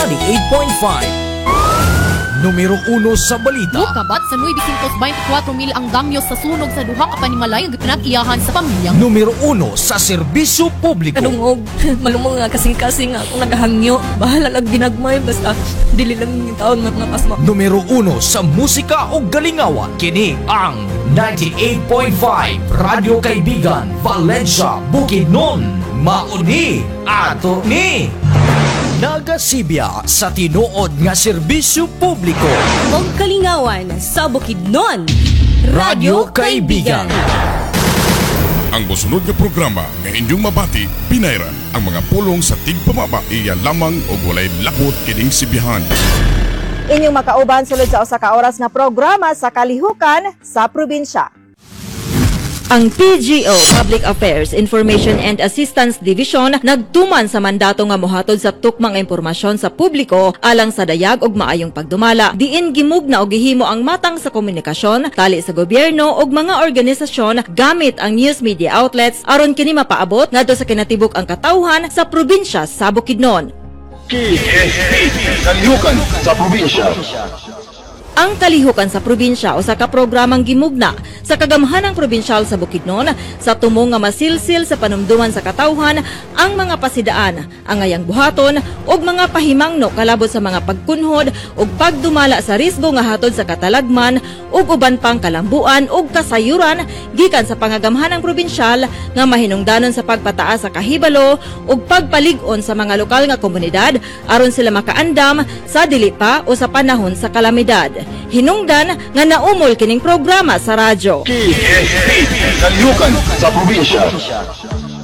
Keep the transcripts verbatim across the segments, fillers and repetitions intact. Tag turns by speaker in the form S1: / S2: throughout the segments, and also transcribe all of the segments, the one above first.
S1: ninety-eight point five. Numero uno sa balita.
S2: Mukabat sa nine hundred twenty-four mil ang damyo sa sunog sa duha ka panimalay nga gipinag-iyahan sa pamilyang
S1: Numero uno sa serbisyo publiko.
S3: Kadungog, malumong nga kasing-kasing akong nagahangyo. Bahala lang ginagmay, basta dili lang yung taon nga mga pasma.
S1: Numero uno sa musika o galingawan. Kini ang ninety-eight point five Radyo Kaibigan, Valencia, Bukidnon. Mauni ato ni. Nagasibya sa tinuod nga serbisyo publiko.
S4: Og kalingawan sa Bukidnon.
S1: Radyo Kaibigan.
S5: Ang mosunod nga programa nga inyong mabati, pinayran ang mga pulong sa tigpamaba, iya lamang og walay lakot kining sibihan.
S6: Inyong makauban sulod sa usa ka oras nga programa sa kalihukan sa probinsya.
S4: Ang P G O Public Affairs Information and Assistance Division nagtuman sa mandato nga mohatod sa tukmang impormasyon sa publiko alang sa dayag ug maayong pagdumala. Diin gimugna og gihimo ang matang sa komunikasyon tali sa gobyerno ug mga organisasyon gamit ang news media outlets aron kini mapaabot ngadto sa kinatibuk ang katawhan sa probinsya sa Bukidnon.
S7: K S P Kalihukan sa Probinsya.
S4: Ang Kalihukan sa Probinsya, usa ka programang gimugna sa kagamhanang probinsyal sa Bukidnon sa tumong nga masilsil sa panumduman sa katawhan ang mga pasidaan, ang angayang buhaton ug mga pahimangno kalabot sa mga pagkunhod ug pagdumala sa risgo nga hatod sa katalagman ug uban pang kalambuan ug kasayuran gikan sa pangagamhanang probinsyal nga mahinungdanon sa pagpataas sa kahibalo ug pagpalig-on sa mga lokal nga komunidad aron sila makaandam sa dili pa o sa panahon sa kalamidad. Hinungdan nga naumol kining programa sa radyo.
S7: K S P Kalihukan sa Probinsya.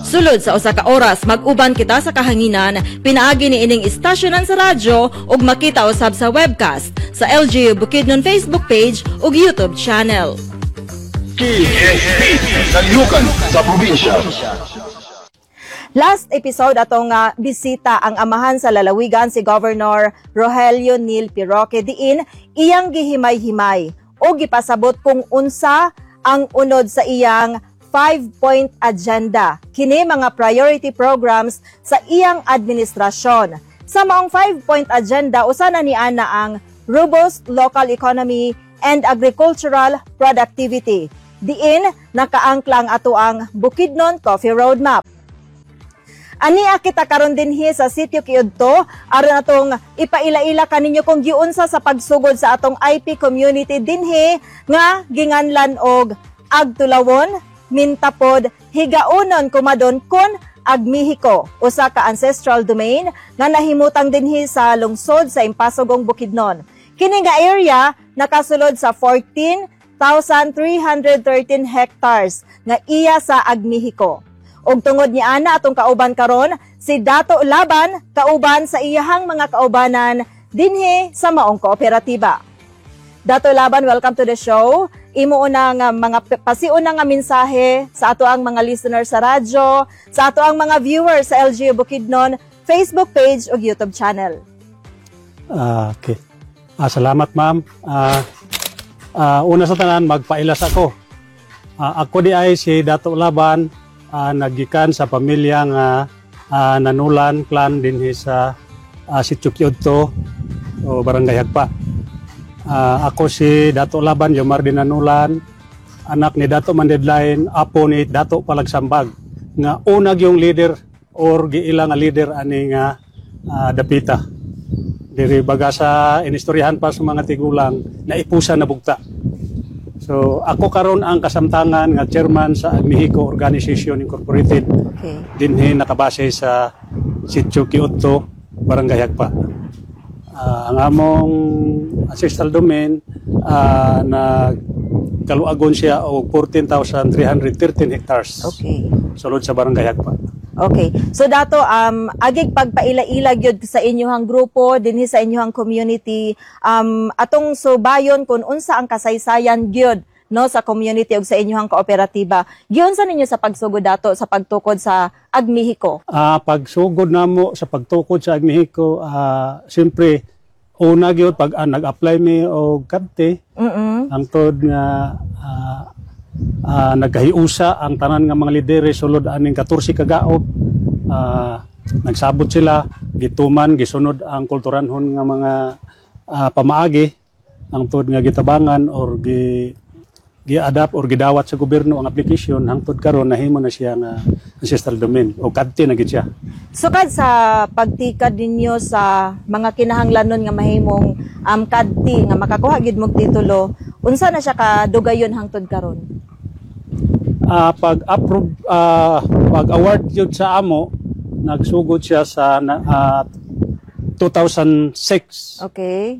S4: Sulod sa usa ka oras, mag-uban kita sa kahanginan pinaagi ni ining istasyonan sa radyo ug makita usab sa webcast sa L G U Bukidnon Facebook page ug YouTube channel.
S7: K S P Kalihukan sa Probinsya.
S6: Last episode, atong uh, bisita ang amahan sa lalawigan, si Governor Rogelio Neil P. Roque, diin iyang gihimay-himay o gipasabot kung unsa ang unod sa iyang five-point agenda. Kini mga priority programs sa iyang administrasyon. Sa maong five-point agenda, usa na ni ana ang robust local economy and agricultural productivity. Diin nakaangkla ang ato ang Bukidnon Coffee Roadmap. Ania kita karon dinhi sa Sitio Kiudto aron atong ipaila-ila kaninyo kung giunsa sa pagsugod sa atong I P community dinhi nga ginganlan og Agtulawon, Mintapod, Higaunon Kumadon kun Agmihiko, usa ka ancestral domain nga nahimutang dinhi sa lungsod sa Impasugong, Bukidnon. Kini nga area nakasulod sa fourteen thousand three hundred thirteen hectares nga iya sa Agmihiko. Ug tungod ni ana, atong kauban karon si Dato Laban kauban sa iyahang mga kaubanan dinhi sa maong kooperatiba. Dato Laban, welcome to the show. Imo una nga mga pasiuna nga mensahe sa ato ang mga listeners sa radyo, sa ato ang mga viewers sa L G U Bukidnon Facebook page ug YouTube channel.
S8: Ah, okay. Ah, salamat, ma'am. Ah, ah, una sa tanan, magpailas ako. Ah, ako di ay si Dato Laban, ah, nagikan sa pamilya nga ah, Nanulan clan dinhi sa uh, Sitio Kiudto o Barangay Hagpa. Ah, ako si Dato Laban Yomar Nanulan, anak ni Dato Mandedlain, apo ni Dato Palagsambag, nga unag yung leader or giila nga leader ani nga ah, dapita. Diri baga sa inistoryahan pa sa mga tigulang na ipusa na bugta. So ako karon ang kasamtangan nga chairman sa Agmihiko Organization Incorporated
S6: Okay.
S8: dinhi nakabase sa Sitio Kiudto, Barangay Hagpa. Ah, ang among ancestral domain uh, na kaluagon siya og fourteen thousand three hundred thirteen hectares
S6: Okay.
S8: sulod sa Barangay Hagpa.
S6: Okay. So dato, um agig pagpaila-ila gyud sa inyong grupo dinhi sa inyong community, um atong subayon kung unsa ang kasaysayan gyud no sa community ug sa inyong kooperatiba. Giunsa ninyo sa pagsugod, dato, sa pagtukod sa Agmihiko?
S8: Ah, pagsugod namo sa pagtukod sa Agmihiko, ah, siyempre una gyud pag ah, nag-apply mi og kadte
S6: Mm.
S8: hangtod nga ah, ah, nagkahiusa ang tanan nga mga lidere sulod aning katorse ka gaob. Ah, Nagsabot sila, gituman, gisunod ang kulturanhon nga mga ah, pamaagi ang tuod nga gitabangan or gi gi-adapt or gidawat sa gobyerno ang application hangtod karon nahimo na siya nga ancestral domain o kadti na gid siya.
S6: Sukad sa pagtikad ninyo sa mga kinahanglanon nga mahimong um, kadti nga makakuha gid mog titulo, unsa na siya kadugayon hangtod karon?
S8: Ah, pag approve ah, pag award yun sa amo nagsugod siya sa na- ah, two thousand six.
S6: Okay.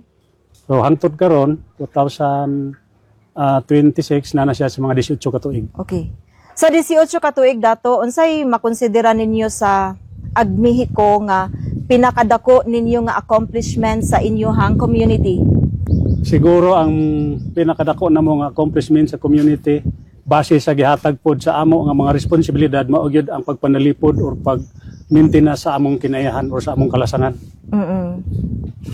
S8: So hangtod karon twenty twenty-six na na siya sa mga eighteen ka tuig.
S6: Okay. Sa eighteen ka tuig, Dato, unsay makonsidera ninyo sa Agmihiko nga pinakadako ninyo nga accomplishment sa inyuhang community?
S8: Siguro ang pinakadako na nga accomplishment sa community base sa gihatag pod sa amo nga mga responsibilidad mao gyud ang pagpanalipod or pag maintain sa among kinaiyahan or sa among kalasangan.
S6: Mm.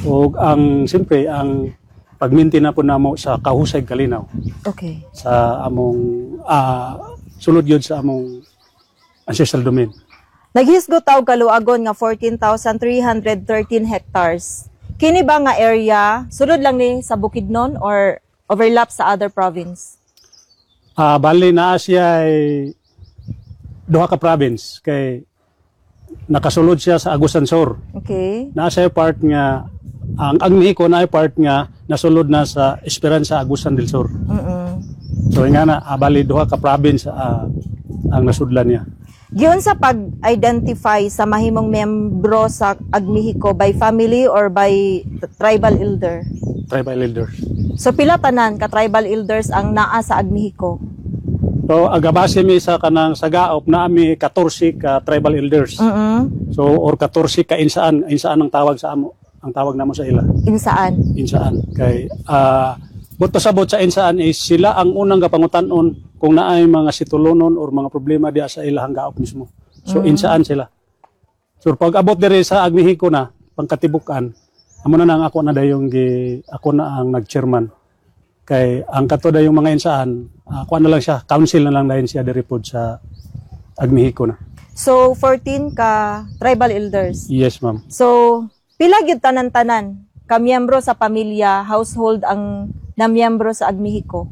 S8: Ug ang siyempre ang pag-maintain na po namo sa kahusay kalinaw
S6: Okay.
S8: sa among ah, sulod yun sa among ancestral domain.
S6: Naghisgot og kaluagon nga fourteen thousand three hundred thirteen hectares. Kini ba nga area sulod lang ni sa Bukidnon or overlap sa other province?
S8: Ah, bali naa siya ay duha ka province kay nakasulod siya sa Agusan Sur.
S6: Okay.
S8: Naa siya part nga ang Agmexico na part nga nasulod na sa Esperanza, Agusan del Sur.
S6: Mm.
S8: So nga na ah, bali duha ka province ah, ang nasudlan niya.
S6: Giunsa pag-identify sa mahimong membro sa Agmexico, by family or by tribal elder?
S8: Tribal elders.
S6: So pila tanan ka tribal elders ang naa sa Agmexico?
S8: So agabase mi sa kanang sa Gaop na mi fourteen ka tribal elders.
S6: Mm.
S8: So or fourteen ka insaan, insaan ang tawag sa amo, ang tawag namo sa ila.
S6: Insaan.
S8: Insaan kay ah buot pasabot sa insaan is sila ang unang gapangutan-on kung naay mga situlonon or mga problema diya sa ilahang gaop mismo. So insaan sila. So pag abot diri sa Agmexico na pangkatibukan, amo na nang ako na dayong gi ako na ang nag-chairman. Kay ang kato dayong mga insaan, ako na lang siya, council na lang dayon siya diri pod sa Agmexico na.
S6: So fourteen ka tribal elders.
S8: Yes, ma'am.
S6: So pila gyud tanan-tanan ka miyembro sa pamilya, household ang namiyembro sa Agmexico?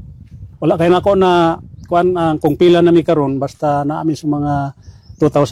S8: Wala kay nako na kuan ang kung pila na mi karon, basta naa mi sa mga two thousand.